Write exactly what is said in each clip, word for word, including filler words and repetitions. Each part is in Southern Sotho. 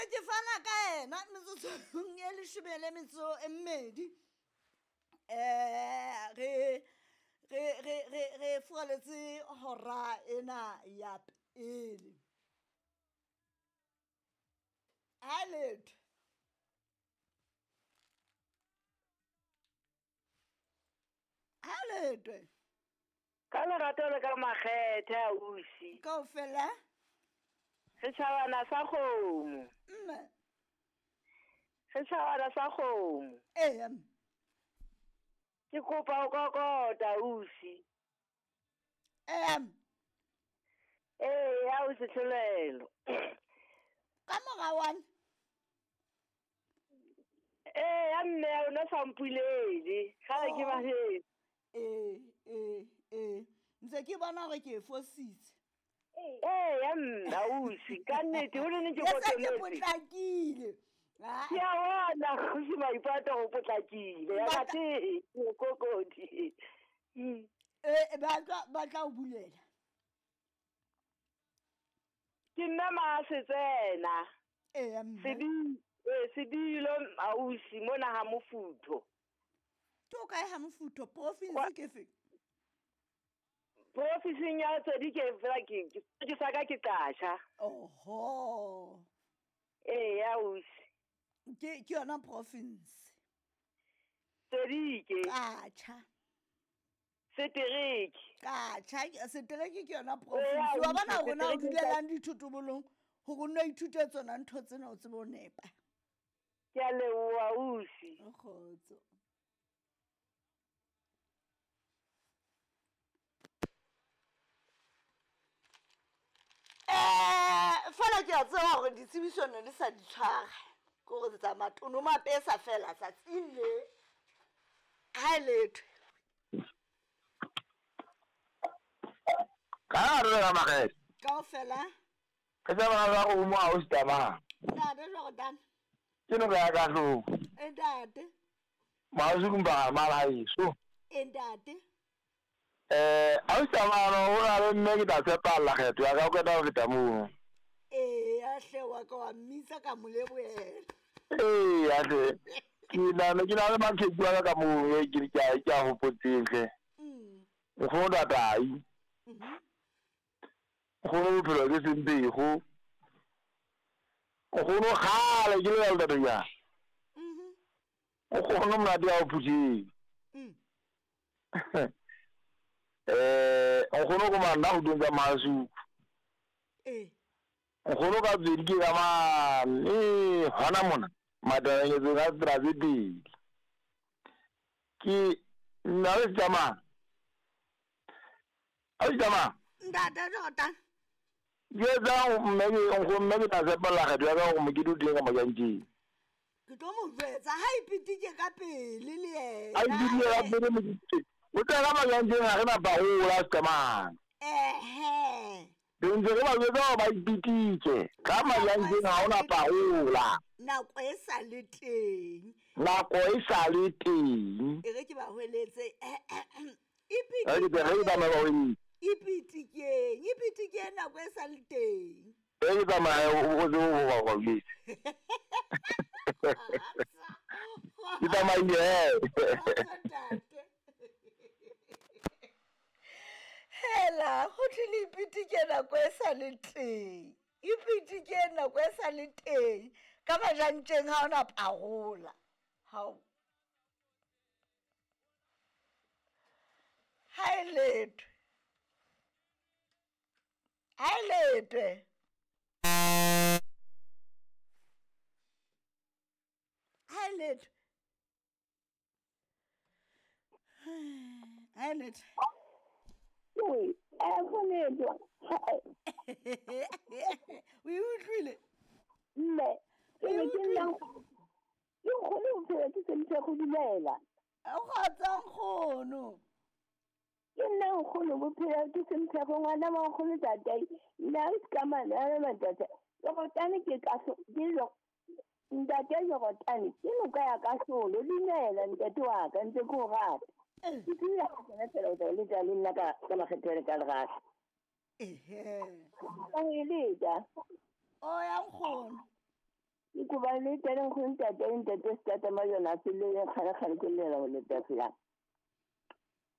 ke fana ka ena metsotsong e leshome le metso e mmedi. Eh re re re re re furaletse hora ena ya pele. Ha letho. Ha letho. Ka lerato le ka makgethe ausi. Kaofela. Setjhabana sa kgomo. Mme. Setjhabana sa kgomo. Ee. Ke kopa o kokota ausi. Ee. Ee, ausi Tlholelo. Ka mora wane. Ee, ya mme o no sa mpulele. Kgale ke bahetse. Ee, ee, ee. Ntse ke bona hore ke e fositse. Ee, ya mme ausi, ka nnete ho ne ke Ke se ke potlakile. potlakile. Ke a bona ausi Maipato o potlakile. Ya Ba tla- ka te kokodi. Ee, ba tla ba tla o bulela. Ke nna Masetsena. Ee, mme. Sedi eh sedilo ausi mona ha Mofutho. Ke o kae ha Mofutho? Province ke fe? Profinseng ya Tswedi ke fela ke ke ke sa ka ke qasha. Oho. Ee, ausi. Ke ke yona province. Tswedi ke. Qatjha. Setereke. Qatjha, setereke ke yona Ee, province. Wa bona hore na o setereke ke dulelang dithotobolong hore o nno ithute tsona ntho tsena o tsebe ho nepa. Ke a leboha ausi. Kgotso. Eh, fela ke a tseba hore ditsebiso ne di sa di tshwara. Ke hore tsa matono mapesa fela tsatsing le. Ha e letho. Ka hare ga makgethe. Kaofela. Ke tsa bana ba go mo ausi Tamang. Ntate Jordan. Ke no ya ka hloko. E ntate. Mausi kumba mala heso. E ntate. Eh, ausi Tamang o na le mme ke tla tshepalla kgetho ya ka o qeta ho feta moo. Ee, a hle wa ka wa mmitsa ka mo lebohela. Ee, a hle. Ke na le ke na le maqheku a ka ka moo e ke ke a ke a hopotseng hle. Mm. Nkgono Tatai. Mhm. Nkgono bophelo ke sempego. Nkgono kgale ke le ntate ya. Mhm. Nkgono monate ya ho Phuteng. Mm. Eh, nkgono ko manna ho teng ka Masuku. Ee. Nkgono ka tswedi ke ka mane hona mona matabeng ka tsela tse pedi. Ke nna le tsamaya. Ausi Tamang. Ntate Jordan. Ke etsa mme ke nkgono mme ke tla tshepalla kgetho ya ka hore mokete o teng ka Majantjeng. Ke tlo mo jwetsa ha ipitike ka pele le yena. A ipitike ka pele mokete. O tla ka Majantjeng ha re na parola Tamang. Ehe. Re ntse re ba jwetsa hore ba ipitike. Ka Majantjeng ha hona parola. Nako e sa le teng. Nako e sa le teng. E re ke ba hweletse. Re ke re tsamaya ba hweletse. Ipitikeng, ipitikeng nako e sa le teng. E ke tsamaya o o tsebe ho ba hweletse. Ke tsamaile he. Hela, ho thwe le ipitike nako e sa le teng. Ipitike nako e sa le teng. Ka Majantjeng ha hona parola. Hao. Ha e letho. Ha e letho. Ha e letho. Ha e letho. Oi, eh go letho. O e utlwile? Mme, ke ne ke nna ke nkgono o phela ke sentse go dumela. Kgotsa nkgono. Ke nna nkgono bophelo ke sentse go ngwana wa nkgono tatai. Nna ke ka mane a le matata. Jorotane ke ka so ke lo ntate Jorotane ke noka ya ka solo dumela ntate wa ka ntse ke o rata. Ke tsela go tsena fela o tla le tla le nna ka ka makgetho le ka lerato. Ehe. Ka ho eletsa. O ya nkgono. Koba le teng nkgono ntate ntate Setata Majona a le kgale kgale ke llela ho letafela.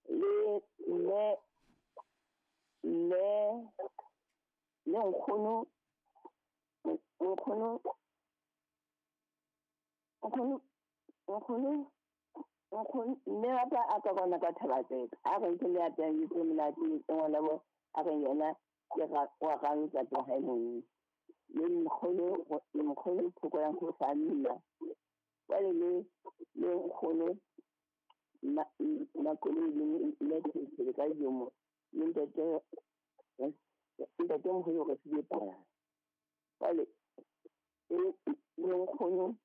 Le mme mme le nkgono nkgono nkgono nkgono nkgono mme wa ka a ka kwana ka Thabatseka a re ke le apehang dijo tse monate ngwana bo a re yena ke wa rang ntate wa hae mong le nkgono nkgono Phoko ya Nkgosanna jwale le le nkgono Makoloi le mme Thetsele ka Jomo le ntate ntate moholo re file palana jwale le nkgono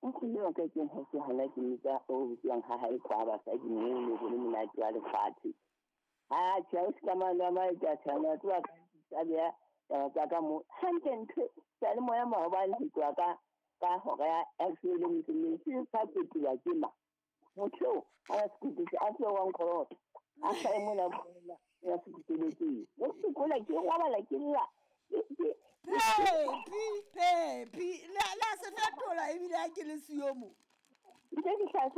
nkgono wa ka ke haufi hona ke mmitsa o bitswang ha hae kwa basadi moo ho le monate wa lefatshe. Ha tjhe o se ka mano a maetsa tshwana tseba ka beha taba tsa ka mo hantle ntho seyalemoya maobane ho tloha ka ka hora ya leshome le metso e mmedi se sa fetolwa ke ma motho eo ha sekutu a se wa nkolota a hlahe mona ya sekuteletseng o sekola ke robala ke lla Pepi, Pepi, la la se fetola ebile ha ke le siyo mo. Ntse ke hlase